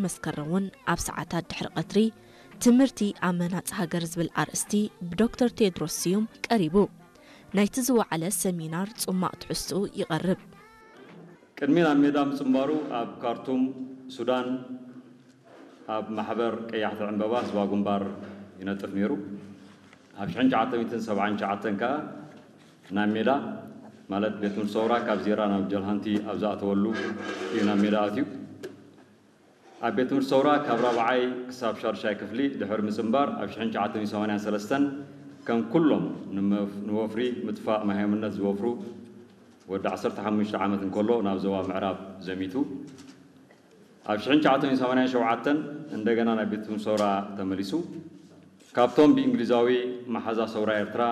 መስከረም እውን ኣብ ሰዓታት ድሕሪ ቀትሪ ትምህርቲ ኣብ ምህናጽ ሃገር ዝብል ኣርእስቲ ብዶክተር ቴድሮስ ስዩም ቀሪቡ። ናይቲ ዝወዓለ ሰሚናር ጽማቕ ትሕዝትኡ ይቐርብ። ቅድሚ ናብ ሜዳ ምጽንባሩ ኣብ ካርቱም ሱዳን ኣብ ማሕበር ቀያሕቲ ዕምበባ ህዝባዊ ግንባር ይነጥፍ ነይሩ። ኣብ ሽሕን ትሽዓተ ሚእትን ሰብዓን ትሽዓተን ከኣ ናብ ሜዳ ማለት ቤት ትምህርቲ ሰውራ ካብ ዜራ ናብ ጀልሃንቲ ኣብ ዝኣተወሉ እዩ ናብ ሜዳ ኣትዩ። ኣብ ቤት ትምህርቲ ሰውራ ካብ ራብዓይ ክሳብ ሻዱሻይ ክፍሊ ድሕሪ ምጽንባር ኣብ ሽሕን ትሽዓተ ሚእትን ሰማንያን ሰለስተን ከም ኩሎም ንመፍ- ንወፍሪ ምጥፋእ ማይ ሃይምነት ዝወፍሩ ወዲ ዓሰርተ ሓሙሽተ ዓመት እንከሎ ናብ ዞባ ምዕራብ ዘሚቱ። ኣብ ሽሕን ትሽዓተ ሚእትን ሰማንያን ሸውዓተን እንደገና ናብ ቤት ትምህርቲ ሰውራ ተመሊሱ። ካብቶም ብእንግሊዛዊ መሓዛ ሰውራ ኤርትራ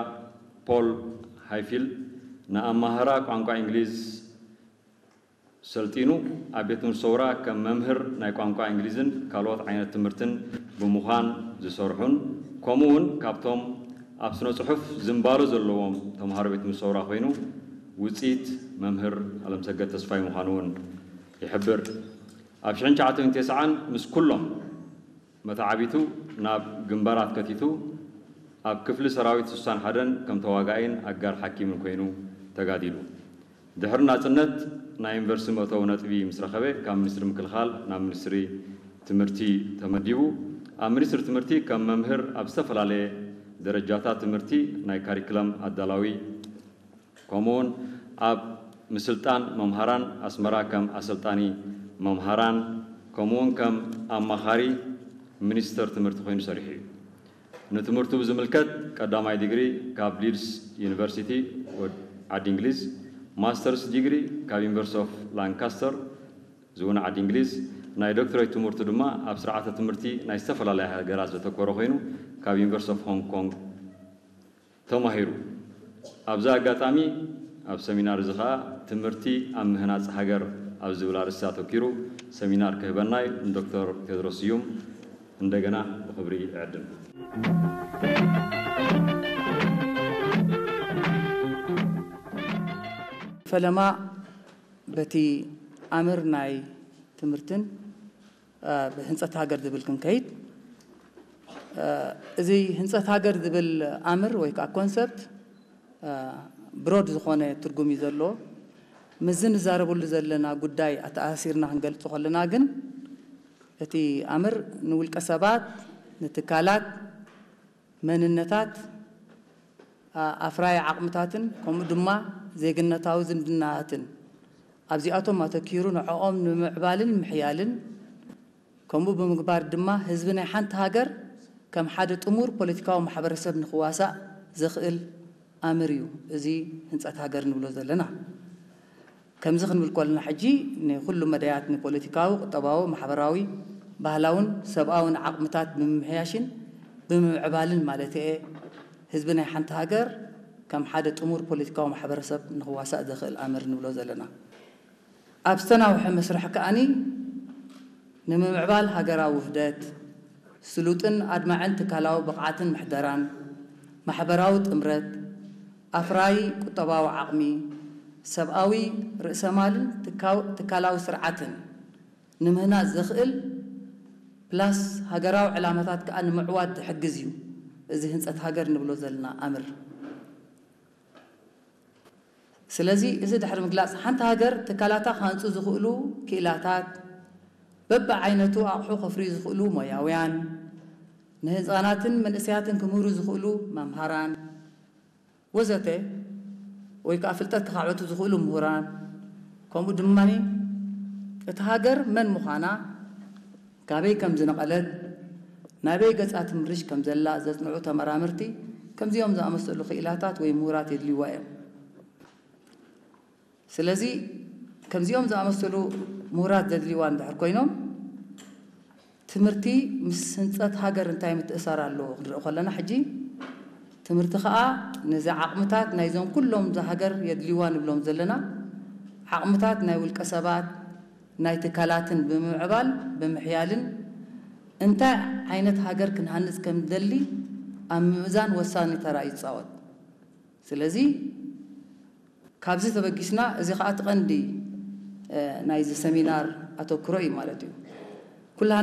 ፖል ሃይፊል ንኣማህራ ቋንቋ እንግሊዝ ሰልጢኑ ኣብ ቤት ትምህርቲ ሰውራ ከም መምህር ናይ ቋንቋ እንግሊዝን ካልኦት ዓይነት ትምህርትን ብምዃን ዝሰርሑን ከምኡ እውን ካብቶም ኣብ ስነ ጽሑፍ ዝንባሎ ዘለዎም ተምሃሮ ቤት ትምህርቲ ሰውራ ኮይኑ ውፅኢት መምህር ኣለምሰገድ ተስፋይ ምዃኑ እውን ይሕብር። ኣብ ሽሕን ትሽዓተ ሚእትን ተስዓን ምስ ኩሎም መተዓቢቱ ናብ ግንባራት ከቲቱ ኣብ ክፍሊ ሰራዊት ስሳን ሓደን ከም ተዋጋኣይን ኣጋር ሓኪምን ኮይኑ ተጋዲሉ። ድሕሪ ናጽነት ናይ ዩኒቨርሲቲ መእተዊ ነጥቢ ምስ ረኸበ ካብ ሚኒስትሪ ምክልኻል ናብ ሚኒስትሪ ትምህርቲ ተመዲቡ። ኣብ ሚኒስትሪ ትምህርቲ ከም መምህር ኣብ ዝተፈላለየ ደረጃታት ትምህርቲ ናይ ካሪክለም ኣዳላዊ ከምኡውን ኣብ ምስልጣን መምሃራን ኣስመራ ከም ኣሰልጣኒ መምሃራን ከምኡውን ከም ኣማኻሪ ሚኒስተር ትምህርቲ ኮይኑ ሰሪሑ እዩ። ንትምህርቱ ብዝምልከት ቀዳማይ ዲግሪ ካብ ሊድስ ዩኒቨርሲቲ ዓዲ እንግሊዝ፣ ማስተርስ ዲግሪ ካብ ዩኒቨርሲቲ ኦፍ ላንካስተር ዝውን ዓዲ እንግሊዝ፣ ናይ ዶክትሬት ትምህርቱ ድማ ኣብ ስርዓተ ትምህርቲ ናይ ዝተፈላለያ ሃገራት ዘተኮረ ኮይኑ ካብ ዩኒቨርሲቲ ኦፍ ሆንግ ኮንግ ተማሂሩ። ኣብዚ ኣጋጣሚ ኣብ ሰሚናር እዚ ኸኣ ትምህርቲ ኣብ ምህናጽ ሃገር ኣብ ዝብል ኣርእስቲ ኣተኪሩ ሰሚናር ክህበና እዩ ንዶክተር ቴድሮስ ስዩም እንደገና ብኽብሪ እዕድም። ፈለማ በቲ ኣምር ናይ ትምህርትን ብህንፀት ሃገር ዝብል ክንከይድ፣ እዚ ህንፀት ሃገር ዝብል ኣምር ወይ ከዓ ኮንሰፕት ብሮድ ዝኾነ ትርጉም እዩ ዘለዎ። ምስዚ ንዛረበሉ ዘለና ጉዳይ ኣተኣሳሲርና ክንገልጾ ከለና ግን እቲ ኣምር ንውልቀ ሰባት፣ ንትካላት፣ መንነታት፣ ኣፍራይ ዓቕምታትን ከምኡ ድማ ዜግነታዊ ዝምድናታትን ኣብዚኣቶም ኣተኪሩ ንዕኦም ንምምዕባልን ምሕያልን ከምኡ ብምግባር ድማ ህዝቢ ናይ ሓንቲ ሃገር ከም ሓደ ጥሙር ፖለቲካዊ ማሕበረሰብ ንኽዋሳእ ዘኽእል ኣምር እዩ እዚ ህንፀት ሃገር ንብሎ ዘለና። ከምዚ ክንብል ከለና ሕጂ ንኹሉ መዳያት ንፖለቲካዊ፣ ቁጠባዊ፣ ማሕበራዊ፣ ባህላውን ሰብኣውን ዓቕምታት ብምምሕያሽን ብምምዕባልን ማለት እየ ህዝቢ ናይ ሓንቲ ሃገር ከም ሓደ ጥሙር ፖለቲካዊ ማሕበረሰብ ንኽዋሳእ ዘኽእል ኣምር ንብሎ ዘለና። ኣብ ዝተናውሐ መስርሕ ከኣኒ ንምምዕባል ሃገራዊ ውህደት፣ ስሉጥን ኣድማዕን ትካላዊ ብቕዓትን ምሕደራን፣ ማሕበራዊ ጥምረት፣ ኣፍራዪ ቁጠባዊ ዓቕሚ፣ ሰብኣዊ ርእሰማልን ትካላዊ ስርዓትን ንምህናጽ ዘኽእል ፕላስ ሃገራዊ ዕላማታት ከኣ ንምዕዋት ዝሕግዝ እዩ እዚ ህንጸት ሃገር ንብሎ ዘለና ኣምር። ስለዚ እዚ ድሕሪ ምግላጽ ሓንቲ ሃገር ትካላታ ክሃንጹ ዝኽእሉ ክኢላታት በብዓይነቱ ኣቑሑ ከፍርዩ ዝኽእሉ ሞያውያን፣ ንህጻናትን መንእሰያትን ክምህሩ ዝኽእሉ መምሃራን ወዘተ ወይ ከዓ ፍልጠት ክኻዕበቱ ዝኽእሉ ምሁራን ከምኡ ድማ እቲ ሃገር መን ምዃና ካበይ ከም ዝነቐለት ናበይ ገጻ ትምርሽ ከም ዘላ ዘጽንዑ ተመራመርቲ ከምዚኦም ዝኣመሰሉ ክኢላታት ወይ ምሁራት የድልይዋ እዮም። ስለዚ ከምዚኦም ዝኣመሰሉ ምሁራት ዘድልይዋ እንድሕር ኮይኖም ትምህርቲ ምስ ህንፀት ሃገር እንታይ ምትእሳር ኣለዎ ክንርኢ ከለና ሕጂ ትምህርቲ ከዓ ነዚ ዓቕምታት ናይዞም ኩሎም እዛ ሃገር የድልይዋ ንብሎም ዘለና ዓቕምታት ናይ ውልቀ ሰባት ናይ ትካላትን ብምምዕባል ብምሕያልን እንታይ ዓይነት ሃገር ክንሃንፅ ከም ንደሊ ኣብ ምምእዛን ወሳኒ ተራ ይፃወት። ስለዚ ካብዚ ተበጊስና እዚ ከዓ እቲ ቀንዲ ናይዚ ሰሚናር ኣተክሮ እዩ ማለት እዩ።